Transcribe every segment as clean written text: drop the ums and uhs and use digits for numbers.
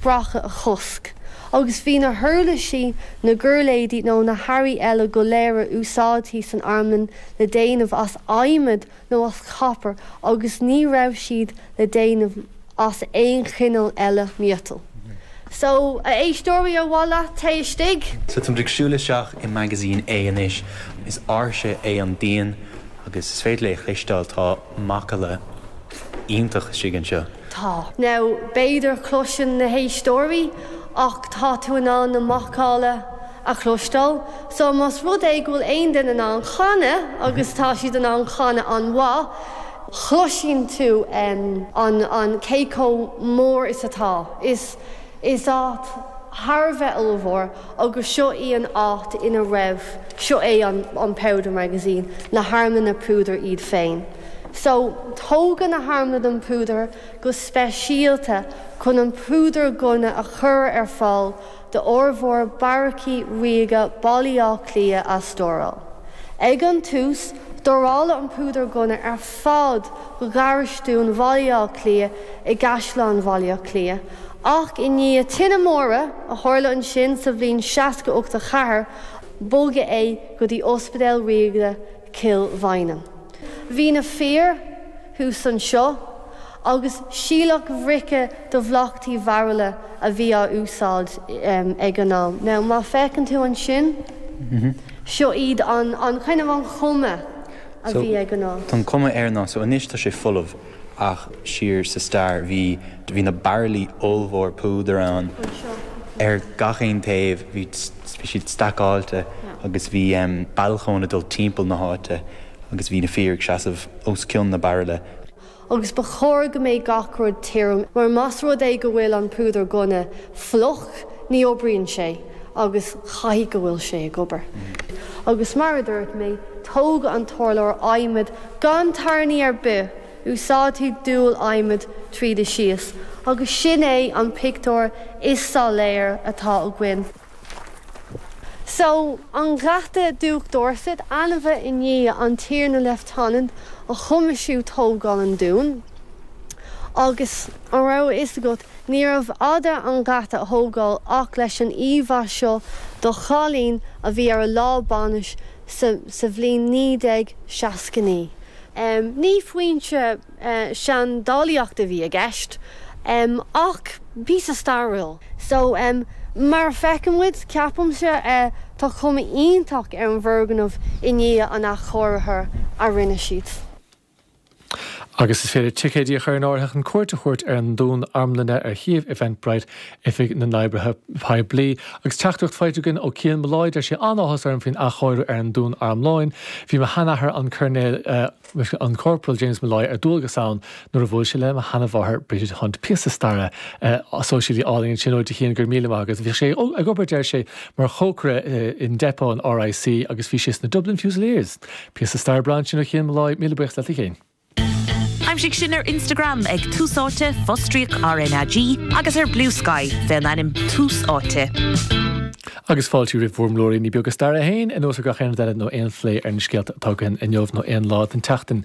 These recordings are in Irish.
Sracadh a chosc, agus bhí na huirlisí, na giuirléidí nó na hearraí eile go léir a úsáidtí san armlann le déanamh as adhmad nó as copar agus ní raibh siad le déanamh as aon chineál eile miotail. So, a éisteoirí, ar mhaith leat téigh istigh? So táimid ag siúl isteach i Magazine A anois. Is áirse é an díon agus is féidir é a chloisteáil, tá macalla iontach istigh anseo. Tá. Now, b'fhéidir cloiseann na héisteoirí ach tá tú in ann na macalla a chloisteáil. So, más rud é go bhfuil aon duine in ann canadh, agus tá siad in ann canadh an-mhaith, chloiseann tú an, an, cé chomh mór is atá. Is, is áit thar a bheith ollmhór agus seo í an áit ina raibh, seo é an, an Powder Magazine, na harmlanna púdair iad féin. So, tógadh na harmlanna púdair go speisialta chun an púdar gunna a chur ar fáil d'fhormhór beairicí ríoga Baile Átha Cliath a stóráil. Ag an tús, stóráladh an púdar gunna ar fad do gharastún Bhaile Átha Cliath i gCaisleán Bhaile Átha Cliath, ach i ndiaidh tine móire a tharla ansin sa bhliain 68 4, bogadh é go dtí Ospidéal Ríoga Chill Mhaighneann. Bhí na fir thuas anseo agus síleach bhrice de bhlachtaí bhairille a bhí á úsáid ag an am. Now má féachann tú ansin, seo iad an, an kind of an chuma a bhí ag an áit. Tá an cuma air ná, so anois tá sé folamh ach siar sa stair bhí, bhí na bairillí ollmhór púdair ann ar gach aon taobh, bhí, bhí siad stacáilte agus bhí balcóin ag dul timpeall na háite. agus bhí na fir ag seasamh os cionn na bairille. Agus ba chóir go mbeidh gach rud tirim, mar más rud é go bhfuil an púdar gunna fliuch, ní oibríonn sé, agus caithfidh go bhfuil sé ag obair. Agus mar a dúirt mé, tógadh an t-urlár adhmaid gan tairní ar bith, úsáidtí dual adhmaid tríd is síos, agus sin é an pictiúr is soiléir atá againn. So, an Gheata Diúc Dorset, ainmnithe i ndiaidh an Tiarna Leifteanant a choimisiúin tógáil an dúin. Agus, an raibh a fhios agat, níorbh fhada an geata a thógáil ach leis an íomhá seo do chailín a bhí ar a lá bainise sa sa bhliain 1969. Ní foinse seandálaíochta a bhí i gceist, ach píosa stairiúil. So, mar a feiceann muid, ceapaimse, tá cuma iontach ar an bhfoirgneamh i ndiaidh an athchóirithe a rinne siad. Agus is féidir ticéidí a chur in áirithe chun cuairt a thabhairt ar an Dún Armlainne ar shuíomh Eventbrite Oifig na nOibreacha Poiblí. Agus teachtaireacht faighte againn ó Cian Molloy, deir sé, An-áthas orm faoin athchóiriú ar an Dún Armlainne. Bhí mo sheanathair, an Coirnéal, an Corporal James Molloy ar dualgas ann nuair a bhuail sé le mo sheanamháthair Bridget Hunt. Píosa staire sóisialaí álainn ansin uait a Chian, go raibh míle maith agat. Bhí sé ag obair, deir sé, mar chócaire i ndepot an RIC agus bhí sé sna Dublin Fusiliers. Píosa staire breá ansin ó Chian Molloy, míle buíochas leat a Chiain. Aimsigh sinn ar Instagram ag Tús Áite, fostríoc RnaG, agus ar Bluesky fén ainm Tús Áite. Agus fáilte roimh bhur mblúiríní beaga staire féin, anuas ar gach aon rud eile nó aon phlé ar na scéalta atá againn inniu nó aon lá den tseachtain.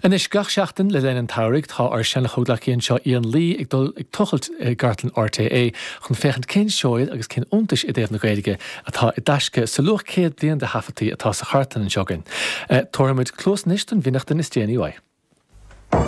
Anois, gach seachtain le linn an tsamhraidh, tá ár seana-chomhghleacaí anseo, Ian Lee, ag dul ag tochailt i gcartlann RTÉ chun féachaint cén seoid agus cén iontais i dtaobh na Gaeilge atá i dtaisce sa luach 100 bliain de thaifeadtaí atá sa chartlann anseo againn. Tabharfaimid cluas anois don bhfionnachtain is déanaí uaidh.